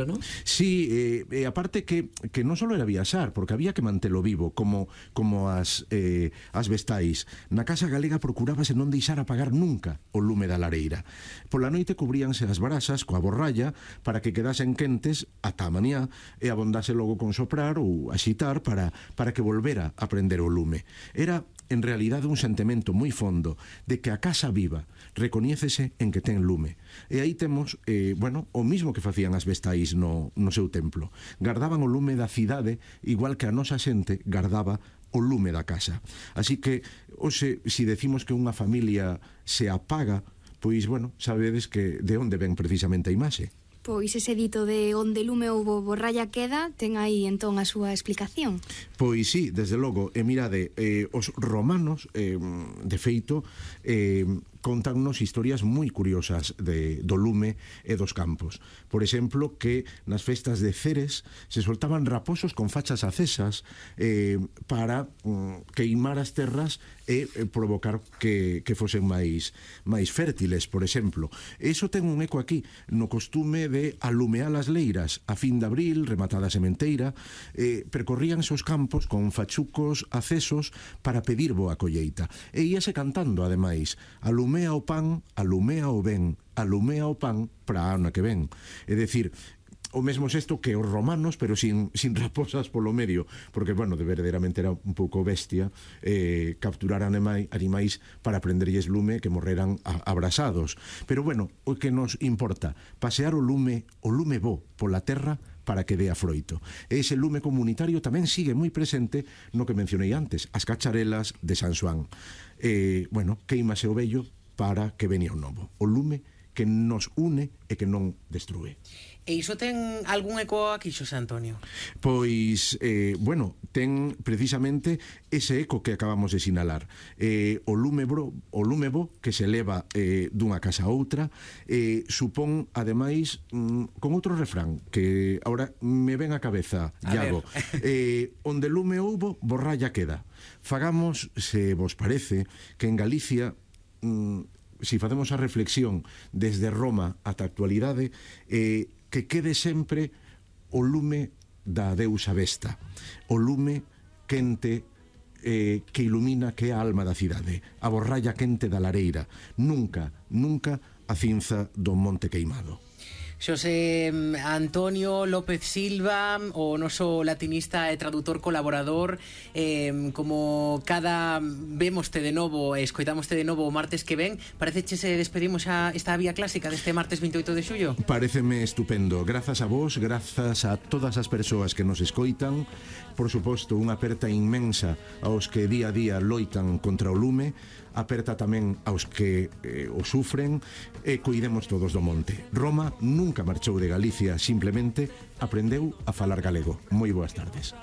¿no? Sí, aparte que non só era viaxar, porque había que mantelo vivo, como as vestais. Na casa galega procurábase non deixar apagar nunca o lume da lareira. Pola noite cubríanse as brasas coa borralla para que quedasen quentes ata a mañá e abondase logo con soprar ou axitar para que volvera a prender o lume. Era en realidade un sentimento moi fondo de que a casa viva recoñécese en que ten lume. E aí temos, o mismo que facían as vestais no seu templo. Gardaban o lume da cidade igual que a nosa xente gardaba o lume da casa. Así que, hoxe, se decimos que unha familia se apaga, pois, sabedes que de onde ven precisamente a imaxe. Pois ese dito de onde lume houbo borralla queda ten aí entón a súa explicación. Pois sí, desde logo, e mirade, os romanos, de feito, contannos historias moi curiosas do lume e dos campos. Por exemplo, que nas festas de Ceres se soltaban raposos con fachas acesas para queimar as terras e provocar que fosen máis fértiles, por exemplo. Eso ten un eco aquí, no costume de alumear as leiras a fin de abril, rematada a sementeira, percorríanse os campos con fachucos acesos para pedir boa colleita. E íase cantando, ademais, alumea o pan, alumea o ben, alumea o pan para a ano que ven. É dicir, o mesmo xesto que os romanos, pero sin raposas polo medio, porque, de verdadeiramente era un pouco bestia capturar animais para prenderlles lume que morreran abrasados. Pero, o que nos importa, pasear o lume bo pola terra para que dea froito. E ese lume comunitario tamén sigue moi presente no que mencionei antes, as cacharelas de San Xoán. Queimase o vello para que venía o novo. O lume que nos une e que non destrúe. E iso ten algún eco aquí, Xosé Antonio? Pois, ten precisamente ese eco que acabamos de sinalar. O lume bo que se leva dunha casa a outra, supón, ademais, con outro refrán, que agora me ven a cabeza, Iago. Onde lume houbo, borralla queda. Fagamos, se vos parece, que en Galicia, se facemos a reflexión desde Roma ata a actualidade, que quede sempre o lume da deusa Vesta, o lume quente que ilumina que é a alma da cidade, a borralla quente da lareira, nunca a cinza do monte queimado. Xosé Antonio López Silva, o noso latinista e traductor colaborador, como cada vemoste de novo e escoitamoste de novo o martes que ven, parece se despedimos xa esta vía clásica deste martes 28 de xullo? Pareceme estupendo, grazas a vos, grazas a todas as persoas que nos escoitan, por suposto unha aperta inmensa aos que día a día loitan contra o lume, aperta tamén aos que o sufren, e cuidemos todos do monte. Roma nunca marchou de Galicia, simplemente aprendeu a falar galego. Moi boas tardes.